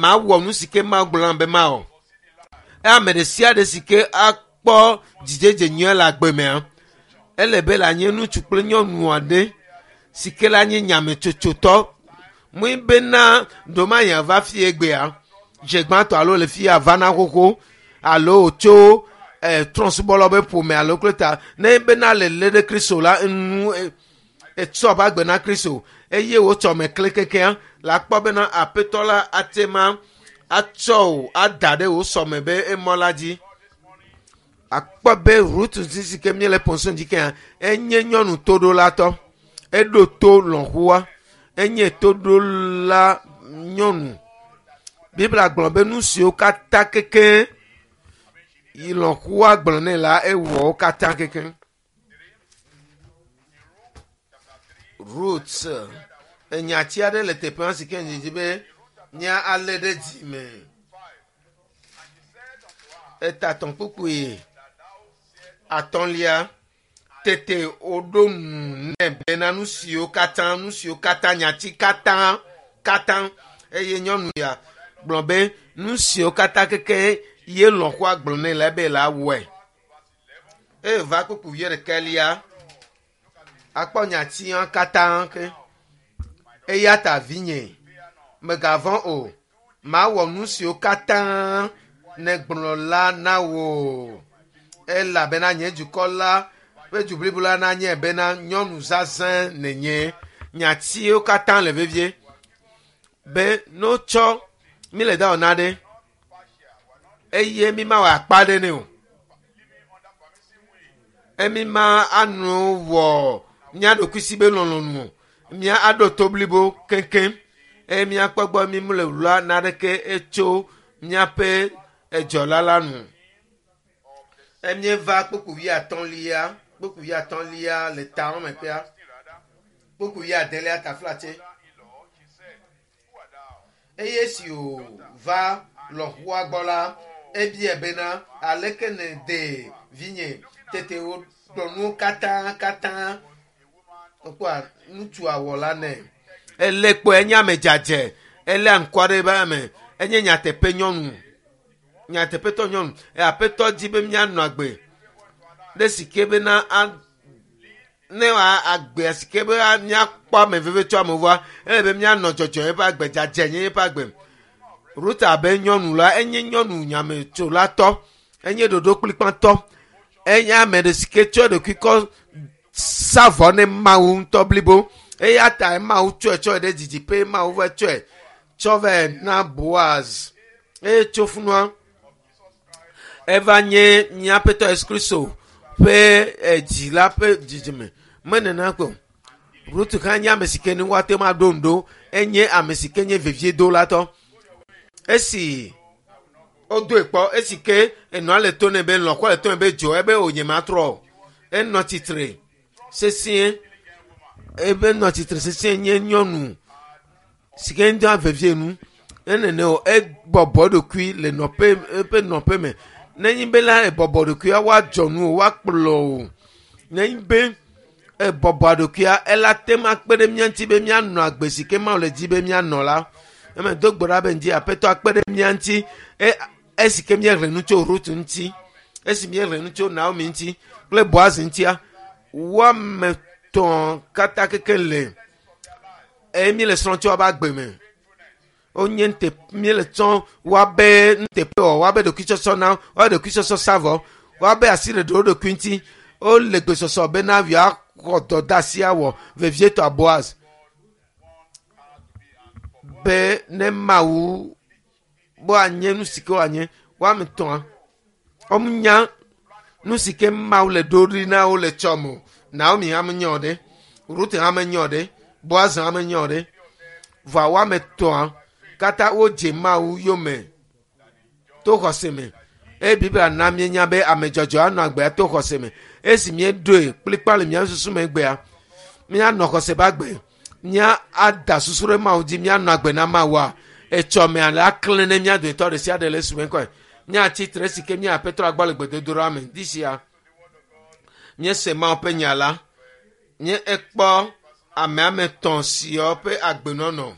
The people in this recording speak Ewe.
Mawɔ nu si ke Mawu gblɔ nam be mawɔ. Eye ame ɖe sia ɖe si ke akpɔ dzidzedze nyuie le agbe mea, ele be le anye ŋutsu kple nyɔnu aɖe si ke la nye nyametsotsotɔ. Mui bena ɖomanya va fie gbea, dze gbãtɔ alo le fia va na xoxo alo tso trɔ̃subɔlawo be ƒome alo kple ta ne bena le lé ɖe Kristo la enu etsɔ ƒe agbe na Kristo eye wotsɔ me kle kekea la kpɔ bena aƒetɔ la ate ma atsɔ wò ada ɖe wò sɔme be emɔ la dzi. Akpɔ be Ruth si ke míele pɔnso dzi kea enye nyɔnu toɖolatɔ. Eɖo to lɔ̃xoa. Enye toɖola nyɔnu. Biblia gblɔ be nu siwo katã keke yi lɔ̃xoa gblɔ nɛ la ewɔ wo katã keke. Ruth enyati aɖe le teƒea si ke didi be nya alé ɖe dzi me. Etatɔ̃ kpukpui atɔ̃lia tete woɖo nu nɛ bena nu siwo katã nu siwo katã nyati katã katã eye nyɔnu ya gblɔ be nu siwo katã keke ye lɔ̃xoa gblɔ nɛ la be la wɔe. Eye va kpukpui wuiɖekɛlia akpɔ nyatia katã ke. Eya ta vinye, mègavɔ̃ o. Mawɔ nu siwo katã nègblɔ la na wò. Elabena nye dukɔ la ƒe du blibo la nanye bena nyɔnu zazɛ̃ nènye. Nyatiwo katã le vevie be ne wotsɔ mi le dawɔ na ɖe eye mi mawɔ akpa ɖe nɛ o. Emi ma anɔ wɔ mía ɖokuisi be lɔlɔ̃nu o. Mía aɖo to blibo keŋkeŋ eye míakpɔ gbɔ mi mele wla naɖeke etso míaƒe edzɔla la nu. Emieva kpukpui wuiatɔ̃lia kpukpui wuiatɔ̃lia le ta wɔme ƒea kpukpui wuiadelia taflatse. Eye esi wòva lɔ̃xoa gbɔ la, ebia bena aleke nède vinye tete wògblɔ nuwo katã katã wokpɔa ŋutsua wɔ la nɛ. Ele kpɔe enye ame dzadze ele aŋkɔ ɖe ebe ame enye nyateƒe nyɔnu nyateƒetɔ nyɔnu aƒetɔ dzi be míanɔ agbe ɖe si ke bena a ne agbea si ke be míakpɔ ame veve tso ame ŋua ele be míanɔ dzɔdzɔ eƒe agbe dzadze nye eƒe agbe. Ruth abe nyɔnu la enye nyɔnu nyametsolatɔ enye ɖoɖo kplikpatɔ enye ame ɖe si ke tsɔ eɖokui kɔ sa vɔ ne Mawu ŋutɔ blibo eya ta Mawu tsɔe tsɔe ɖe didiƒe Mawu va tsɔe tsɔ vɛ na Boaz eye tso funua eva nye míaƒetɔ Yesu Kristo ƒe edzi la ƒe dzidzime menena ko Ruth hã nye ame si ke ne woate ŋu aɖo ŋu ɖo enye ame si ke nye veviedolatɔ esi wodoe kpɔ esi ke enɔa le to nɛ be lɔ̃xoa le to nɛ be dzo ebe o nye matrɔ o enɔ tsitre sesĩe ebe nɔ tsitre sesĩe nye nyɔnu si ke ŋdɔ vevie nu enene o ebɔbɔ eɖokui le nɔƒe eƒe nɔƒe me nenye be la ebɔbɔ ɖokuia woadzɔ nu o woakplɔ o nenye be ebɔbɔ ɖokuia ela te ŋu akpe ɖe mía ŋuti be míanɔ agbe si ke Mawu le dzi be míanɔ la eme do gbe ɖa be ŋdi aƒetɔ akpe ɖe mía ŋuti e esi ke míexlẽ nu tso Ruth ŋuti esi míexlẽ nu tso Naomi ŋuti kple Boaz ŋutia woame tɔ̃ katã keke le eye míele srɔ̃ tso woabe agbe me wonye nte míele tsɔ woabe nuteƒe wɔ woabe ɖokuitsɔtsɔ na woabe ɖokuitsɔtsɔ sa vɔ woabe asi ɖeɖe wo ɖokui ŋuti wole gbesɔsɔ bena yewoaxɔ dɔdeasi awɔ vevietɔ Boaz be ne Mawu woanye nu si ke woanye woame tɔ̃a wonya nu si ke Mawu le ɖo ɖi na wo le tsɔ me o Naomi hã menye o ɖe Ruth hã menye o ɖe Boaz hã menye o ɖe vɔa woame tɔ̃a katã wodze Mawu yome to xɔse me eye Biblia na míenya be ame dzɔdzɔ anɔ agbea to xɔse me esi míeɖoe kplikpa le míaƒe susu me gbea míanɔ xɔse ƒe agbe mía ada susu ɖe Mawu dzi míanɔ agbe na Mawua etsɔme ale aklẽ ne mía dometɔ ɖe sia ɖe le esu me kɔe míatsi tre si ke mía aƒetɔ agbɔ le gbedodoɖa me di sia míese Mawu ƒe nya la míekpɔ ame ame etɔ̃ siawo ƒe agbenɔnɔ.